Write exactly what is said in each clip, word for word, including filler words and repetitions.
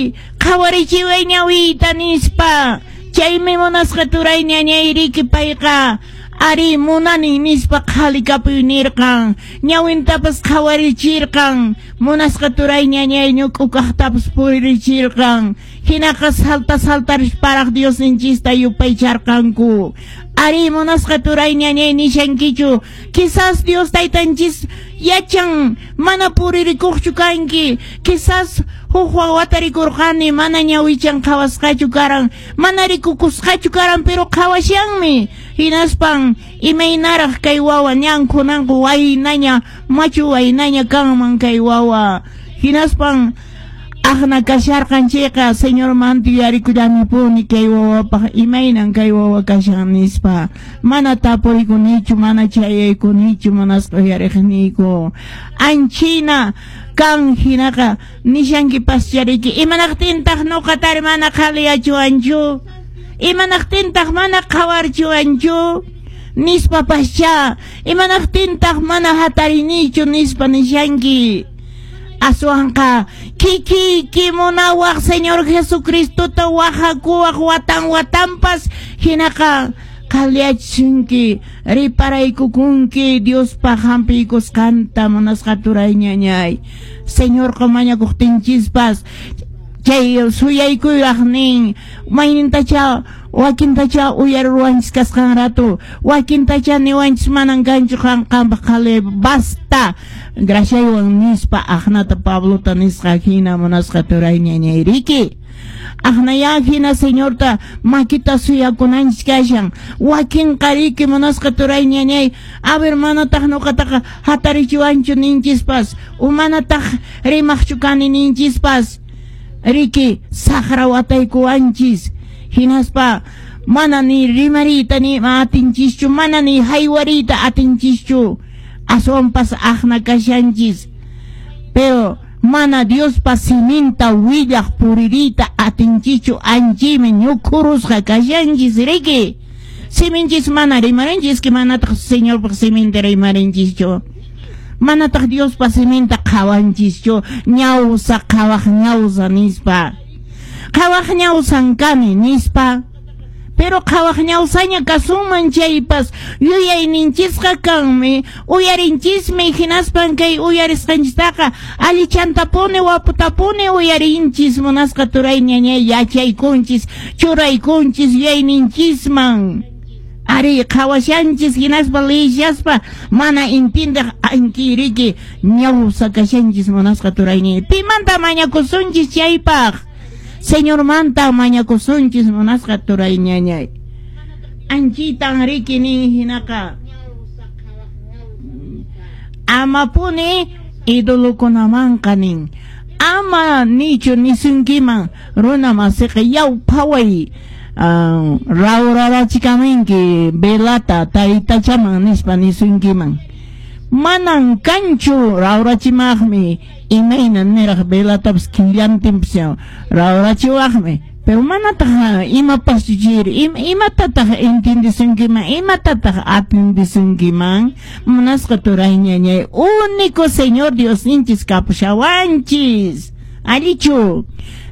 Taytáy, qhawarichiway ñawiyta nispa. Chaymi munasqa turay ñañayriki payqa ari munani nispa qhalikapuy nirqan, ñawintapas qhawarichirqan, munasqa turay ñañay ñuk'ukaqtapas puririchirqan. Hinaqa salta saltarisparaq Diosninchista yupaycharqanku. Ari munasqa turay ñañay nishankichu, quizás Dios taytanchis yachan mana puririkuqchu kanki, quizás huk wawata rikurqani mana ñawichan qhawasqachu karan, mana rikukusqachu karan, pero qhawashanmi. Hinaspan imaynaraq kay wawa ñan kunanqa waynaña, machu waynaña kanman kay wawa. Hinaspan aqna kasharqan chayqa Señormanta yuyarikullani kay wawapaq imaynan kay wawa kashan nispa. Mana tapurikunichu, mana chayaykunichu, munasqa uyariqniyku. Anchina kan hinaqa nishankipaschariki, imanaqtintaq nuqatari mana qhaliyachuwanchu, imanaqtintaq mana qhawarchuwanchu nispa pascha, imanaqtintaq mana hatarinichu nispa nishanki. Aswanqa kikiyki munawaq Señor Jesucristota wajakuwaq watan watanpas, hinaqa qhaliyachisunki, riparaykukunki Diospaq hampiykusqanta munasqa turay ñañay. Señorqa mañakuqtinchispas chay suyaykuyaq nin, maynintacha wakintacha uyaruwanchis kasqan rato, wakintacha niwanchis manan kanchu qan qampaq qhali basta graciaywan nispa aqnata Pablota nisqa hina munasqa turay ñañayriki. Aqnaya hina Señorta makita suyakunanchis kashan, wakin qariki munasqa turay ñañay, a ver manataq nuqataqa hatarichiwanchu ninchispas, umanataq rimaqchu kani ninchispas, riki saqra wataykuwanchis. Hinaspa mana ni rimariyta ni atinchischu, mana ni haywariyta atinchischu, aswanpas aqna kashanchis. Pero mana Diospa siminta willaq puririyta atinchischu, anchimi ñukhurusqa kashanchis riki. Siminchis mana rimarinchis, que manataq Señorpaq siminta rimarinchischu, manataq Diospa siminta qhawanchischu, ñawsa qhawaq ñawsa nispa. Qhawaq ñawsan kani nispa. Pero qhawaq ñawsaña kasunman chaypas yuyayninchisqa kanmi, uyarinchismi, hinaspan kay uyarisqanchistaqa allichantapuni waputapuni uyarinchis munasqa turay ñañay, yachaykunchis, churaykunchis yuyayninchisman. Ari qhawashanchis hinaspa liyishaspa mana intindeq ankiriki ñawsa kashanchis munasqa turay ñañay. Pimanta mañakusunchis chaypaq? Señormanta mañakusunchis munasqa turay ñañay. Anchitan riki nin hinaqa amapuni idolokunamanqa nin, ama nichu nisunkiman runa masiqa yaw phaway uh, rawrarachikaminki velata taytachaman nispa nisunkiman. Manan kanchu rawrachimaqmi, imayna niraq velatapas killantinpas rawrachiwaqmi, pero manataq imapas chiri, imatataq entiendesunkiman, imatataq atendesunkiman munasqa turay ñañay. Único Señor Diosninchis kapushawanchis. Allichu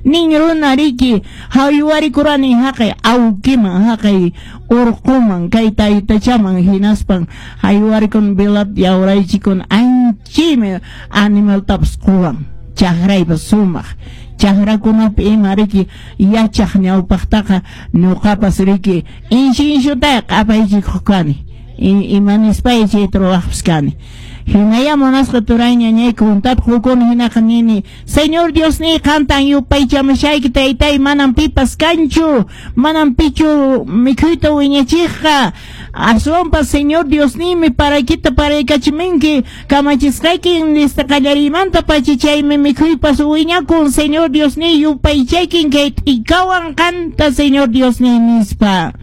nin runa riki haywarikurani haqay awkiman, haqay urquman, kay taytachaman, hinaspan haywarikun velat yawraychikun anchimi animaltapas quwan, chakraypas sumaq chakrakunapi ima riki yachaq ñawpaqtaqa ñuqapas riki inshi inshutay q'apaychikuq kani, ima nispay chayta ruwaqpas kani. Hinaya munasqa turay ñañay kuntata qukuni hinaqa nini, Señor Diosniy qantan yupaychamushayki taytay, manan pipas kanchu, manan pichu mikhuyta wiñachiqqa, aswanpas Señor Diosniymi paraykita paraykachiminki, kamachisqayki nista qallariymanta pacha chaymi mikhuypas wiñakun, Señor Diosniy yupaychaykin kay t'ikawan qanta Señor Diosniy nispa.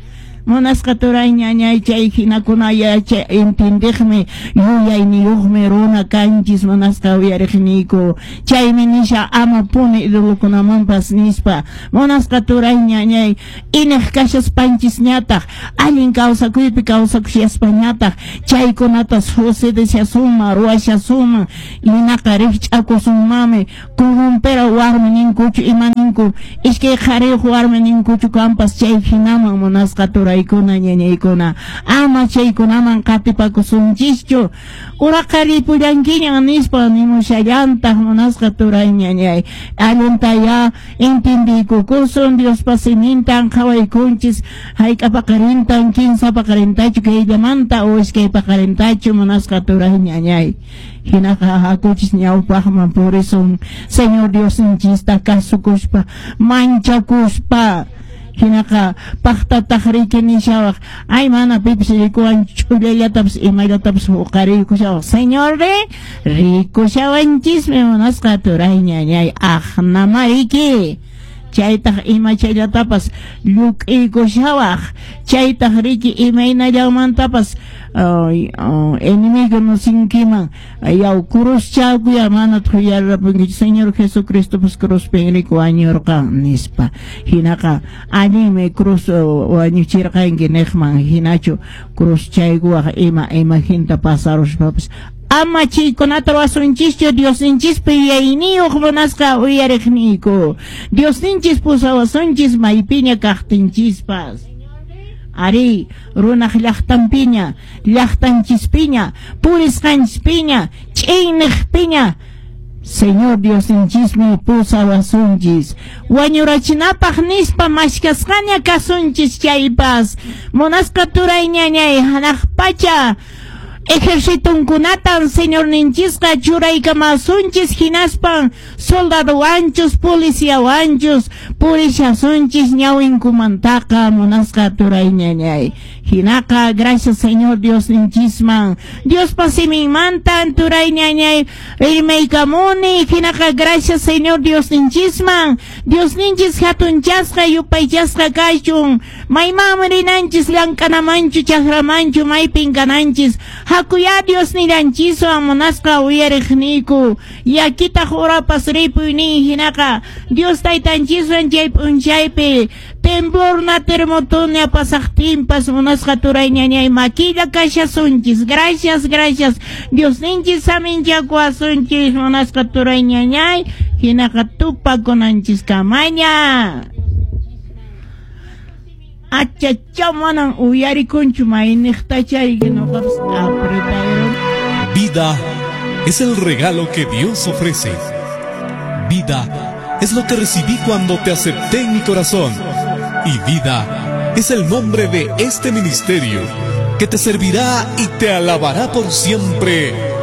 Munasqa turay ñañay chay hinakuna yachay entendeqmi yuyayniyuqmi runa kanchis munasqa uyariqniyku. Chaymi nisha amapuni idolokunamanpas nispa. Munasqa turay ñañay ineq kashaspanchisñataq allin kawsakuypi kawsakushaspañataq chaykunata sucedeshasunman ruwashasunman, hinaqa rikch'akusunmanmi corrompera warmi ninkuchu ima ninku, iskay qhariyuq warmi ninkuchu kampas chay hinaman munasqa turaykuna ñañaykuna, ama chaykunaman qatipakusunchischu, uraqa ripullankiñan nispa nimushallantaq munasqa turay ñañay, allintaya entendiykukusun Diospa simintan qhawaykunchis hayk'a paqarintan kinsa paqarintachu kayllamanta o iskay paqarintachu munasqa turay ñañay, hinaqa hakuchis ñawpaqman purisun Señor Diosninchista kasukuspa manchakuspa hinaqa paqtataq riki nishawaq ay mana pipis rikuwan ch'ullallatapas imallatapas huqariykushawaq Señor re rikushawanchismi munasqa turay ñañay aqnamariki chaytaq imachallatapas lluk'iykushawaq chaytaq riki imaynallamantapas uh, enemigo nosinkiman yaw cruzchakuya mana thuyarrapunkichu Señor Jesucristopas cruzpin riki wañurqan nispa hinaqa allinmi cruz wañuchirqanki niqman hinachu cruzchaykuwaq ima imaginta pasaruspapas ama chaykunata ruwasunchischu Diosninchispi yuyayniyuq munasqa uyariqniyku Diosninchis pusawasunchis maypiña kaqtinchispas ari runaq llaqtanpiña llaqtanchispiña purisqanchispiña ch'inniqpiña Señor Diosninchismi pusawasunchis wañurachinapaq nispa mashkasqaña kasunchis chaypas munasqa turay ñañay hanaq pacha ejercitunkunatan Señorninchisqa churaykamasunchis hinaspan soldadowanchus policiawanchus purishasunchis ñawinkumantaqa munasqa turay ñañay hinaqa gracias Señor Diosninchisman Diospa siminmantan turay ñañay rimaykamuni hinaqa gracias Señor Diosninchisman Diosninchis hatunchasqa yupaychasqa kachun maymanmi rinanchis llank'anamanchu chakramanchu maypin kananchis hakuya Diosnillanchiswan munasqa uyariqniyku yakitaq urapas ripuynin hinaqa Dios taytanchiswan chay p'unchaypi temblorna terremotoña pasaqtinpas munasqa turay ñañay makilla kashasunchis gracias gracias Diosninchis saminchakuwasunchis munasqa turay ñañay hinaqa tupakunanchis kamaña achacha manan uyarikunchu mayniqtachariki noqapas apretaron. Vida es el regalo que Dios ofrece. Vida es lo que recibí cuando te acepté en mi corazón. Y vida es el nombre de este ministerio que te servirá y te alabará por siempre.